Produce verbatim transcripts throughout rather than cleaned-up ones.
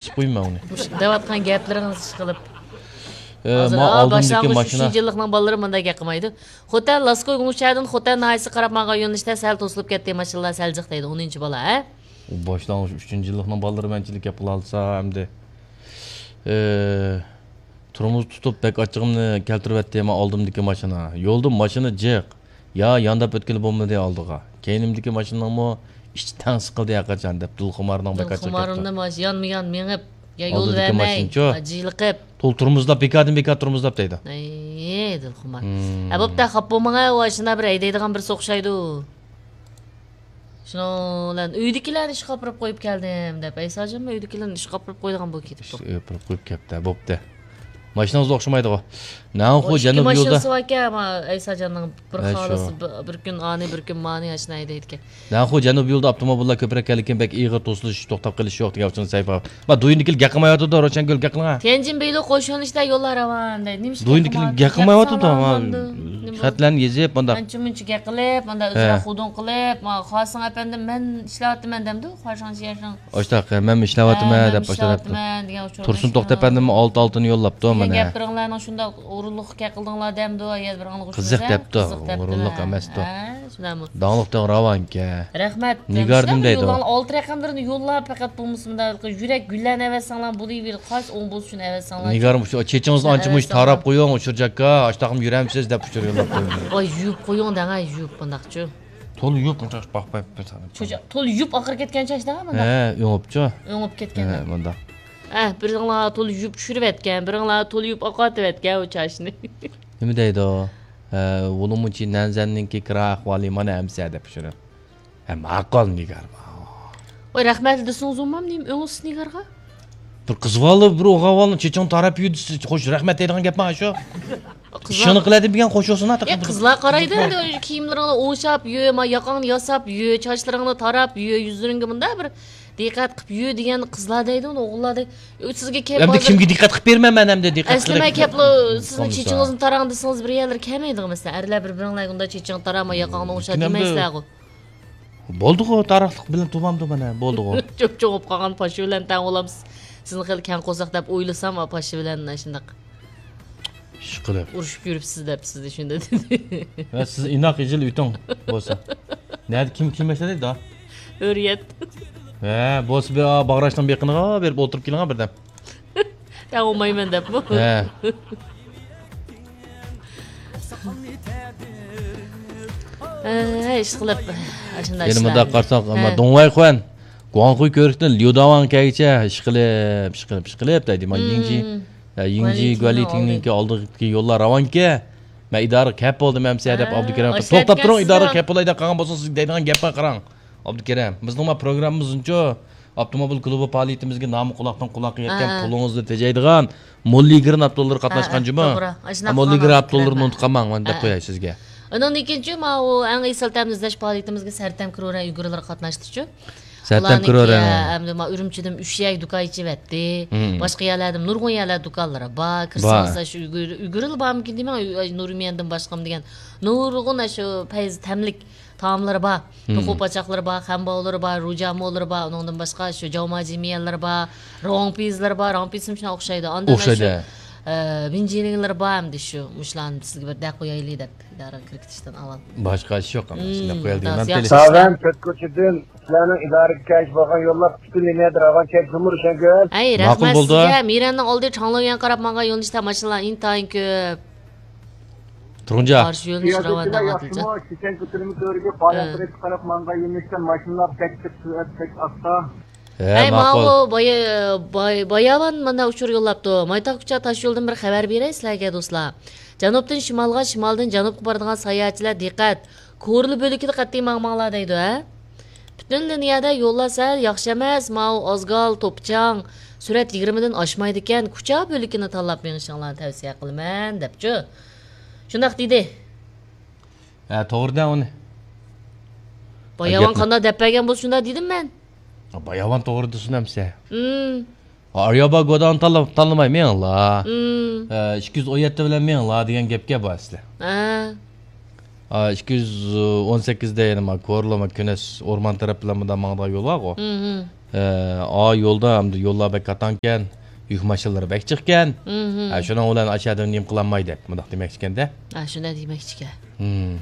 قويىمەن ئۇنى. مۇشۇ دەۋاتقان گەپلىرىڭىز ئىشقىلىپ. ئە، ھازىر، ما ئا، ئالدىمدىكى باشلانغۇچ ماشىنا. ئۈچىنچى يىللىقنىڭ بالىلىرى مۇنداق گەپ قىلمايدۇ. خوتەن لاسكو گۇڭشەدىن خوتەن ناھىيەسىگە قاراپ ماڭغان يۆنىلىشتە سەل توسۇلۇپ كەتتى، ماشىنىلار سەل جىق دەيدۇ، ئونىنچى بالا، ھە؟ ئۇ باشلانغۇچ ئۈچىنچى يىللىقنىڭ بالىلىرى مەنچىلىك گەپ قىلالىسا ئەمدى. ئە، تورمۇز تۇتۇپ بەك ئاچچىقىمنى كەلتۈرۈۋەتتى، ما ئالدىمدىكى ماشىنا. يولدا ماشىنا جىق. يا يانداپ ئۆتكىلى بولمىدى ئالدىغا. كەينىمدىكى ماشىنىنىڭمۇ ئىچى تەڭ سىقىلدى ھەرقاچان دەپ دىلخۇمارنىڭ بەك ئاچچىق گەپتۇ. دىلخۇمارنى ماش-، يانمۇ يان مېڭىپ، يا يول ئالدىدىكى بەرمەي، ماشىنىچۇ؟ جىلىقىپ. تول تورمۇزلاپ، بىكاردىن بىكار تورمۇزلاپ دەيدۇ. ئەي، دىلخۇمار. ھىم. ھە، بوپتۇ، خاپا بولماڭ، ئۇ ئاشۇنداق بىر ھەيدەيدىغان بىرسى ئوخشايدۇ. شۇنىڭ بىلەن ئۆيدىكىلەرنى ئىشقا ئاپىرىپ قويۇپ كەلدىم دەپ، ئەيساجانمۇ ئۆيدىكىلەرنى ئىشقا ئاپىرىپ قويىدىغان بولۇپ كېتىپتۇ. ئىشقا ئاپىرىپ قويۇپ كەپتۇ، بوپتۇ. ماشىنىڭىزغا ئوخشىمايدىغۇ. نەنخۇ ئىككى جەنۇب ماشىنىسى يولىدا. باركەن، ئەيساجاننىڭ بىر ھە، شۇ. خالىسى، بىر، بىر كۈن ئانى، بىر كۈن مانى ئاشۇنداق ھەيدەيدىكەن. نەنخۇ جەنۇب يولىدا ئاپتوموبىللار كۆپرەك كەلدىكىن، بەك ئېغىر توسۇلۇش، توختاپ قېلىش يوق دېگەن ئۇچۇرنى سەھىپە. ما دويىنىكىل گەپ قىلمايۋاتىدۇ، روشەنگۈل گەپ قىلىڭا. تيەنجىن بېيلۇ قوش يۆنىلىشتە يوللار راۋان دەيدۇ. نېمىشقا دويىنىكىل گەپ قىلمايۋاتىدۇ، ما. خەتلەرنى يېزىپ، مۇنداق. ئانچە مۇنچە گەپ قىلىپ، مۇنداق ھە. ئۆزرە خۇدۇڭ قىلىپ، ما، خاسىڭ ئەپەندىم، مەن ئىشلەۋاتىمەن دەمدۇ، خاشاڭ شيەشىڭ. ئاشتاق، مەنمۇ ئىشلەۋاتىمەن ھە، دەپ مەنمۇ ئاشتاق. ئىشلەۋاتىمەن دېگەن ئۇچۇر تۇرسۇن توختى ئەپەندىممۇ ئالتە ئالتىنى يوللاپتۇ دېگەن مانا. گەپلىرىڭلارنىڭ شۇنداق ئورۇنلۇق گەپ قىلدىڭلار دەمدۇ، يا بىر ئاڭلىغۇچىمىز قىزىق ھە؟ دەپتۇ، قىزىق دەپتۇ ئورۇنلۇق ھە. ئەمەستۇ. ھە، شۇنداقمۇ؟ داڭلىق دەڭ راۋانكە. رەھمەت. نىگاردىن دەيدۇ. ئالتە رەقەملىرىنى يوللاپ، پەقەت بولمىسا مۇنداق يۈرەك گۈللەرنى ئەۋەتسەڭلار بولۇۋېرىدۇ، قايسى ئوڭ بولسا شۇنى ئەۋەتسەڭلار. نىگارىم، شۇ چېچىڭىزنى ئانچە مۇنچە تاراپ قويۇڭ، ئۇچۇر جاكا، ئاشتاقمۇ يۈرەمسىز دەپ ئۇچۇر يوللاپ قويدۇم. ۋاي، يۇيۇپ قويۇڭ دەڭە، يۇيۇپ بۇنداقچۇ. تولا يۇيۇپ، مۇنداق باقماي بىر تانە. شۇ، تولا يۇيۇپ ئاخىرى كەتكەن چاچ دەڭە مۇنداق. ھە، ئۆڭۈپچۇ. ئۆڭۈپ كەتكەن. ھە، مۇنداق. ھە، بىرىڭلار تولا يۇيۇپ چۈشۈرۈۋەتكەن، بىرىڭلار تولا يۇيۇپ ئاقارتىۋەتكەن ئۇ چاچنى. نېمە دەيدۇ؟ ھە، ۋۇلۇمۇچى نەنزەننىڭكى كىرا ئەھۋالى مانا ئەمسە دەپ شۇنى. ھە، ماقۇل نىگار. ۋاي، رەھمەتلى دېسىڭىز بولمامدۇ، نېمە ئۆڭسىز نىگارغا؟ بىر قىز بالىنى، بىر ئوغۇل بالىنى چېچىڭ تاراپ يۈ دېسە، خوش، رەھمەت دەيدىغان گەپمۇ شۇ؟ قىزلار ئىشىنى قىلەدى بىگەن خوش بولسۇن، ئە، قىزلار قارايدۇ ئەمدى، كىيىملىرىڭنى ئوڭشاپ يۇ، ما، ياقاڭنى ياساپ يۇ، چاچلىرىڭنى تاراپ يۇ، يۈزلىرىڭگە مۇنداق بىر دىققەت قىلىپ يۈ دېگەن قىزلار دەيدۇ، ئۇنى ئوغۇللار دەيدۇ. ئۆ، سىزگە كەپ ئەمدى ھازىر كىمگە دىققەت قىلىپ بېرىمەن مەن ئەمدى دىققەت ئەسلىمە قىلىپ؟ كەپلۇ، سىزنىڭ قىلمىسا. چېچىڭىزنى تاراڭ دېسىڭىز بىر يەرلەر كەلمەيدىغۇ مەسىلەن. ئەرلەر بىر-بىرىڭلارغا ئۇنداق چېچىڭ تارا، ما، ياقاڭنى ئوڭشا لېكىن ئەمدى دېمەيسىلەرغۇ. بولدىغۇ، تارىخلىق بىلەن تۇرمامدۇ مانا، بولدىغۇ. چوپ-چوڭ بولۇپ قالغان پاشا بىلەن تەڭ بولامسىز. سىزنى خېلى كەڭ قورساق دەپ ئويلىسام، پاشا بىلەن شۇنداق ئىشقىلىپ ئۇرۇشۇپ يۈرۈپسىز دەپ سىزنى شۇنداق دېدى. ۋە سىز ئىناق يېزىل ئۆتۈڭ بولسا. نەدە كىم، كىم ياشايدۇ؟ ھۆرىيەت. ھە، بولسا بىر باغراشنىڭ بېقىنىغا بېرىپ ئولتۇرۇپ كېلىڭە بىردەم. تەڭ بولمايمەن دەپمۇ؟ ھە. ھە، ئىشقىلىپ، ئاشۇنداق يەنە ئىشلار. مۇنداق قارىساق، ھە. دۇڭۋاي خۇەن، گۇاڭخۇي كۆۋرۈكتىن ليۇداۋاڭ كەلگىچە ئىشقىلىپ، ئىشقىلىپ، ئىشقىلىپ دەيدۇ. مانا يىڭجى، ھە، يىڭجى گۇەنلى تىڭنىڭكى ئالدىدىكى يوللار راۋانكى. مەن ئىدارىگە كەپ بولدىم ئەمسە دەپ ھە، ئابدۇكېرىم. توختاپ تۇرۇڭ، ئىدارىگە كەپ بولاي دەپ قالغان بولسىڭىز، سىزگە دەيدىغان گەپكە قاراڭ. ئابدۇكېرىم، بىزنىڭ ما پروگراممىمىزنىڭچۇ ئاپتوموبىل كلۇبى پائالىيىتىمىزگە نامى قۇلاقتىن قۇلاققا يەتكەن، ھە، ھە، پۇلىڭىزنى تېجەيدىغان موللىگرىن ئاپتوللىرى قاتناشقان جۇمۇ. توغرا. ھە، موللىگرىن ئاپتوللىرىنى ئۇنتۇپ قالماڭ، مەن دەپ قوياي سىزگە. ئۇنىڭدىن كېيىنچۇ ماۋۇ ئەڭ ئېسىل تەمىنلەش پائالىيىتىمىزگە سەرتەم كرورەن ئۇيغۇرلىرى قاتناشتىچۇ. سەرتەم كرورەن. ئەمدى ما ئۈرۈمچىدىن ئۈچ يەر دۇكان ئېچىۋەتتى. باشقا يەرلەردىمۇ نۇرغۇن يەرلەر دۇكانلىرى بار. كىرسىڭىز شۇ ئۇيغۇر، ئۇيغۇرلا بارمىكىن دېمەڭ، نۇرمىيەندىن باشقىمۇ دېگەن نۇرغۇن شۇ پەيز تەملىك تائاملىرى بار. توخۇ پاچاقلىرى بار، خەنباۋلىرى بار، روجامولىرى بار، ئۇنىڭدىن باشقا شۇ جاۋماجىميەنلىرى بار، رۇڭپىزلىرى بار، رۇڭپىز شۇنىڭ ئوخشايدۇ. ئاندىن شۇ، ئە، بىنجىلىڭلىرى بار ئەمدى شۇ، مۇشۇلارنى سىزگە بىر دەپ قويايلى دەپ ئىدارىگە كىرىپ كېتىشتىن ئاۋۋال. باشقا ئىش يوق ئەمدى، شۇنداق قويايلى دېگەن. ساۋەن، تۆت كوچىدىن سىلەرنىڭ ئىدارىگە كەلگەن بولغان يوللار پۈتۈن لىنىيەدە راۋان كەلگەن جۇمۇ روشەنگۈل. ئەي، رەھمەت سىزگە. مىرەننىڭ ئالدى چاڭلۇيۈەن قاراپ ماڭغان يۆنىلىشتە ماشىنىلار ئىنتايىن كۆپ. تۇرۇڭجا. قارشى يۆنىلىش راۋان دەڭ ئادىلجان. شىشەن كۆتۈرمە تۈۋرۈكى پائالىيەت قاراپ ماڭغان يۆنىلىشتە ماشىنىلار بەك كۆپ، سۈرئەت بەك ئاستا. ھە، ئەي، ماقۇل. ماۋۇ بايا-، باي-، باياۋان مانا ئۇچۇر يوللاپتۇ. مايتاغ كۇچا تاش يولدىن بىر خەۋەر بېرەي سىلەرگە، دوستلار. جەنۇبتىن شىمالغا، شىمالدىن جەنۇبقا بارىدىغان ساياھەتچىلەر دىققەت! كورلا بۆلىكىدە قەتئىي ماڭماڭلار دەيدۇ، ھە؟ پۈتۈن لىنىيەدە يوللار سەل ياخشى ئەمەس، ماۋۇ ئازگال، توپچاڭ، سۈرئەت يىگىرمىدىن ئاشمايدىكەن، كۇچا بۆلىكىنى تاللاپ مېڭىشىڭلارنى تەۋسىيە قىلىمەن، دەپچۇ. شۇنداق دېدى. ھە، توغرىدە ئۇنى. باياۋان گەپنى قانداق دەپ بەرگەن بولسا شۇنداق دېدىم مەن. باياۋان توغرا دېسۇن ئەمسە. ئارىيابا گودانى تاللا-، تاللىماي مېڭىڭلار. ئە، ئىككى يۈز ئون يەتتە بىلەن مېڭىڭلار دېگەن گەپكە بار ئەسلى. ھە. ئىككى يۈز ئون سەككىزدە يەنە ما كورلىما كۈنەس ئورمان تەرەپ بىلەن مۇنداق ماڭىدىغان يول بارغۇ. ئە، ئا يولدا ئەمدى يوللار بەك قاتاڭكەن، يۈك ماشىنىلىرى بەك جىقكەن. مھم. ئە، شۇنىڭ بىلەن ئاشۇ ئادەم نېمە قىلالماي دەپ مۇنداق دېمەكچىكەن-دە. ھە، شۇنداق دېمەكچىكەن. ھىم.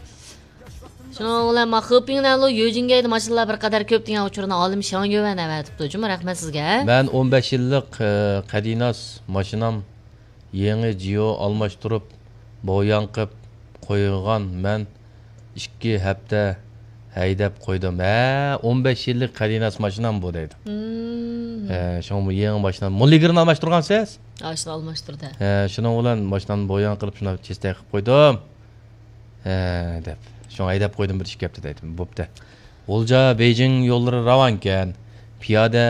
شۇنىڭ بىلەن ما خېپىڭنەنلۇ يۆجىنگەيدە ماشىنىلار بىر قەدەر كۆپ دېگەن ئۇچۇرنى ئالىم شياڭيۈەن ئەۋەتىپتۇ جۇمۇ، رەھمەت سىزگە. مەن ئون بەش يىللىق، ئە، قەدىناس ماشىنام يېڭى جىيو ئالماشتۇرۇپ، بوياڭ قىپ قويغان مەن ئىككى ھەپتە ھەيدەپ قويدۇم. ھە، ئون بەش يىللىق قەدىناس ماشىنام بۇ دەيدۇ. مم. ھە، شۇڭا بۇ يېڭى ماشىنا. مۇلىگىرنى ئالماشتۇرغانسىز؟ ئاشۇنى ئالماشتۇردى. ھە، شۇنىڭ بىلەن ماشىنامنى بوياڭ قىلىپ شۇنداق چىستەي قىلىپ قويدۇم. ھە، دەپ. شۇڭا ھەيدەپ قويدۇم بىر ئىككى ھەپتە دەيدۇ. بوپتۇ. غۇلجا، بېيجىڭ يوللىرى راۋانكەن. پىيادە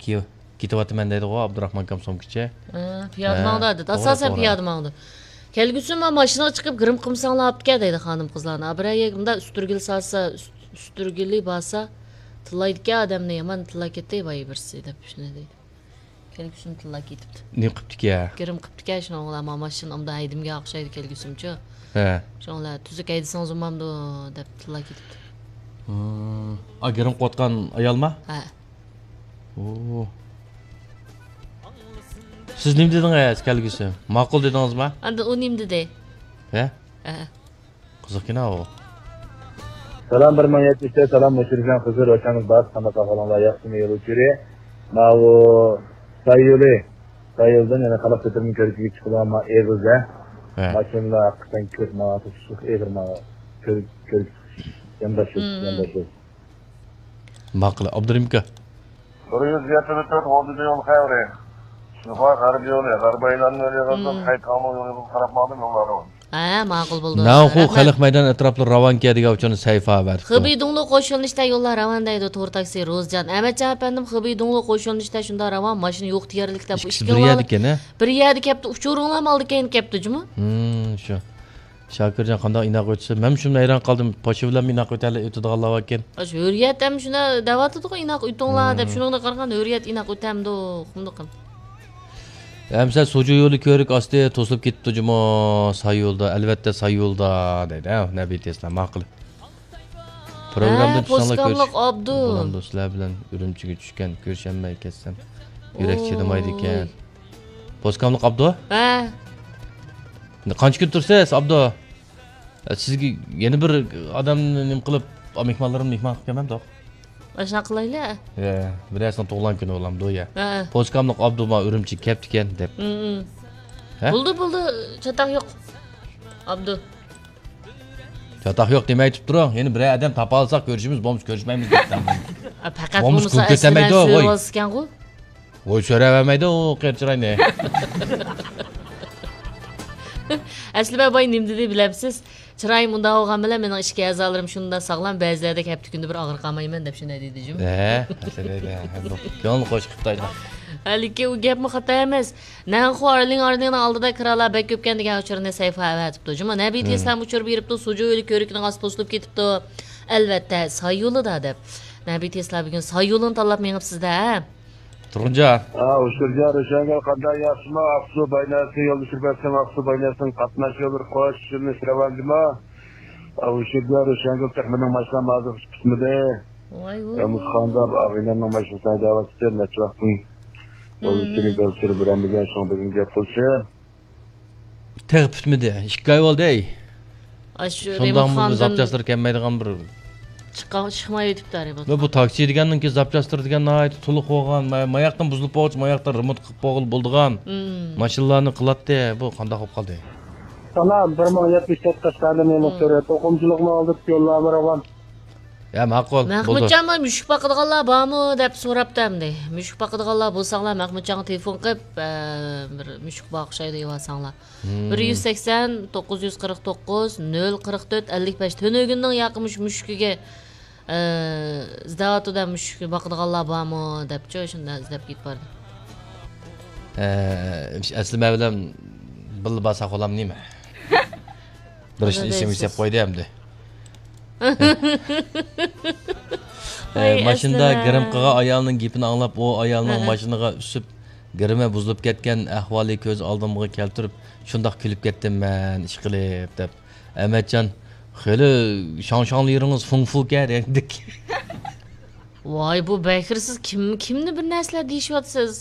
كېيىپ كېتىۋاتىمەن دەيدىغۇ ئابدۇراخمان ئاكام سومكىچى. ھە، پىيادە ھە، ماڭىدۇ دەيدۇ. توغرا، ئاساسەن توغرا. پىيادە ماڭىدۇ. كەلگۈسى مانا ماشىنىغا چىقىپ گىرىم قىلمىساڭلار ئاپتىكەن دەيدۇ خانىم قىزلارنى. بىرەر يەرگە مۇنداق ئۈستۈرگىلى سالسا، ئۈست-، ئۈستۈرگىلى بارسا، تىللايدىكەن ئادەمنى، يامان تىللاپ كەتتى بايا بىرسى دەپ شۇنى دەيدۇ. كەلگۈسىمۇ تىللاپ كېتىپتۇ. نېمە قىپتىكەن؟ گىرىم قىپتىكەن شۇنىڭ بىلەن مانا ماشىنا ئۇنداق ھەيدىمگە ئوخشايدۇ كەلگۈسىمچۇ. ھە. شۇنىڭ بىلەن تۈزۈك ھەيدىسىڭىز بولمامدۇ دەپ تىللاپ كېتىپتۇ. ھىم. ئا، گىرىم قىلىۋاتقان ئايالما؟ ھە. ئوو. سىز نېمە دېدىڭىز كەلگۈسى؟ ماقۇل دېدىڭىزما؟ ئاندىن ئۇ نېمە دېدى؟ ھە؟ ھە. قىزىقكىنا ئۇ. سالام، بىر مىڭ يەتمىش تۆت، سالام، مۇشرىكان خىزىر، ۋەتەنىمىز بار، قانداق ئەھۋالىڭلار، ياخشىمۇ يول ئۇچۇرى؟ ماۋۇ ساي يولى، ساي يولدىن يەنە خەلق كۆتۈرمە كۆرۈكىگە چىقىدىغان ما ئېغىزدا. ھە. ماشىنىلار ھەقىقەتەن كۆپ، ماڭا تۇتۇشلۇق ئېغىر، ماڭا كۆرۈك، كۆرۈك يانداش يول، مم. يانداش يول. ماقۇل، ئابدۇرېھىم ئاكا. بىر يۈز يەتمىش تۆت، ئون يول خەۋىرى. شىنخۇا غەربىي يولى، غەربىي ئايلانما يولى يىغىدىن، مم. خەيتاڭنىڭ يولىغا قاراپ ماڭدىم، يوللار راۋان. ھە، ماقۇل بولدى. ناۋخۇ رەھمەت. خەلق مەيدانى ئەتراپلىرى راۋانكەن دېگەن ئۇچۇرنى سەيفا ئەۋەتىپتۇ. خېبېيدۇڭلۇ قوش يۆنىلىشتە يوللار راۋان دەيدۇ تور تاكسى روزجان. ئەمەتجان ئەپەندىم، خېبېيدۇڭلۇ قوش يۆنىلىشتە شۇنداق راۋان، ماشىنا يوق دېيەرلىك دەپ، ئىككىسى بىر يەردىكەن، ھە؟ بىر يەردە كەپتۇ، ئۇچۇرۇڭلارمۇ ئالدى كەينى كەپتۇ جۇمۇ. ھىم، شۇ. شاكىرجان قانداق ئىناق ئۆتسە، مەن شۇ ھەيران قالدىم، پاشا بىلەن ئىناق ئۆتەلە-، ئۆتىدىغانلار باركەن. ئاشۇ ھۆرىيەت ھەم شۇنداق دەۋاتىدىغۇ، ئىناق ئۆتۈڭلار دەپ، مم. شۇنىڭغا قارىغان ھۆرىيەت ئىناق ئۆتەمدۇ، قۇمدۇقىم. ئەمسە سوجۇ يولى كۆۋرۈك ئاستى توسۇلۇپ كېتىپتۇ جۇمۇ، ساي يولدا، ئەلۋەتتە ساي يولدا، دەيدۇ. ھە، نەبىي تېسلا، ماقۇل. پروگرامدىن ھە، چۈشسەڭلار پوسكاملىق كۆرۈش-، ئابدۇ. بولامدۇ، سىلەر بىلەن ئۈرۈمچىگە چۈشكەن، كۆرۈشەلمەي كەتسەم، يۈرەك ئوي. چىدىمايدىكەن. پوسكاملىق ئابدۇ؟ ھە. قانچە كۈن تۇرىسىز، ئابدۇ؟ سىزگە يەنە بىر ئادەمنى نېمە قىلىپ، مېھمانلىرىمنى مېھمان قىلىپ كەلمەمدۇق؟ ئاشۇنداق قىلايلى. يا، بىرەرسىنىڭ تۇغۇلغان كۈنى بولامدۇ يا؟ ھە. پوسكاملىق ئابدۇ ما ئۈرۈمچىگە كەپتىكەن دەپ. ھە، ھە. ھە؟ بولدى، بولدى، چاتاق يوق. ئابدۇ. چاتاق يوق دېمەي تۇرۇپ تۇرۇڭ. يەنە بىرەر ئادەم تاپالىساق كۆرۈشىمىز، بولمىسا كۆرۈشمەيمىز دەپ. ئا، پەقەت بولمىسا بولمىسا كۈلكە ئەسلىمە ئەتەمەيدۇ، ۋوي. سۆرىۋالسىكەنغۇ. ۋوي، سۆرەۋەرمەيدۇ ئۇ قېرى چىراينى. ئەسلىمە باي نېمە دېدى بىلەمسىز؟ چىرايىم ئۇنداق بولغان بىلەن مېنىڭ ئىچكى ئەزالىرىم شۇنداق ساغلام، بەزىلەردەك ھەپتە كۈندە بىر ئاغرىپ قالمايمەن دەپ شۇنداق دېدى جۇمۇ. ھە، كۆڭۈل قوش قىپتايدۇ. ھېلىقى ئۇ گەپمۇ خاتا ئەمەس. نەنخۇ ئارلىڭ ئارلىڭنىڭ ئالدىدا كىرالار بەك كۆپكەن دېگەن ئۇچۇرنى سەيفا ئەۋەتىپتۇ. جۇمۇ نەبىي تېسلام ئۇچۇر بېرىپتۇ، سۇجۇ يولى كۆۋرۈكىنىڭ ئاستى توسۇلۇپ كېتىپتۇ. ئەلۋەتتە، ساي يولىدا دەپ. نەبىي تېسلا بۈگۈن ساي يولىنى تاللاپ مېڭىپسىز-دە، ھە؟ تۇرغۇنجان. ھە، ئۇچۇرجان، روشەنگۈل قانداق، ياخشىمۇ؟ ئاقسۇ بايناسى يولدىشى بەرسەڭ، ئاقسۇ بايناسىنىڭ قاتناش يوللىرى قوش يۆنىلىش راۋانجىمۇ؟ ھە، ئۇچۇرجان، روشەنگۈل تېخى مېنىڭ ماشىنام ھازىرغىچە پۈتمىدى. ۋاي ۋۇ. ئەمىسخاندا ئاغىنەمنىڭ ماشىنىسىنى ھەيدەۋاتىدۇ، نەچچە ۋاقىتتىن. يولدىشىنى بەلگىلەپ بېرەلمىگەن، شۇڭا بۈگۈن گەپ قىلىشى. تېخى پۈتمىدى. ئىككى ئاي بولدى، ھەي. ئاشۇ شۇنداقمۇ بىر رېمونتخانىدىن زاپچاسلىرى كەلمەيدىغان بىر چىققان، چىقمايۋېتىپتۇ، ھە، رېمونت. بۇ تاكسى دېگەننىڭكى زاپچاسلىرى دېگەن ناھايىتى تولۇق بولغان، ما-، ماياقتىن بۇزۇلۇپ بولغۇچە، ماياقتىن رېمونت قىلىپ بولغىلى بولىدىغان ماشىنىلارنى قىلاتتى. بۇ قانداق بولۇپ قالدى؟ سالام، بىر مىڭ يەتمىش تۆت قەشقەردىن مېنىڭ سۈرەت. توقۇمىچىلىقنى ئالدىپ يوللارمۇ راۋان. يا، ماقۇل، بولدى. مەخمۇتجانمۇ مۈشۈك باقىدىغانلار بارمۇ دەپ سوراپتۇ ئەمدى. مۈشۈك باقىدىغانلار بولساڭلار مەخمۇتجانغا تېلېفون قىلىپ، ئە، بىر مۈشۈك بار ئوخشايدۇ، ئېلىۋالساڭلار. بىر يۈز سەكسەن، توققۇز يۈز قىرىق توققۇز، نۆل قىرىق تۆت، ئەللىك بەش. تۈنۈگۈننىڭ ياقى مۇشۇ مۈشۈكىگە، ئە، ئىزدەۋاتىدۇ دە، مۈشۈك باقىدىغانلار بارمۇ دەپچۇ، شۇنداق ئىزدەپ كېتىپ باردى. ئە، ئەسلى مەن بىلەن بىللە بارساق بولامدۇ نېمە؟ بىر ئىشنى ئېسىمگە سېلىپ قويدى ئەمدى. ئەي، ماشىنىدا ئەسلىمە. گىرىم قىلغان ئايالنىڭ گېپىنى ئاڭلاپ، ئۇ ئايالنىڭ ماشىنىغا ئۈسۈپ، گىرىمى بۇزۇلۇپ كەتكەن ئەھۋالى كۆز ئالدىمغا كەلتۈرۈپ، شۇنداق كۈلۈپ كەتتىم مەن، ئىشقىلىپ، دەپ. ئەمەتجان، خېلى شاڭشاڭلىرىڭىز فۇڭفۇكەن رەڭدىك. ۋاي، بۇ بەكرى، سىز كىم، كىمنى بىر نەرسىلەر دېيىشىۋاتىسىز؟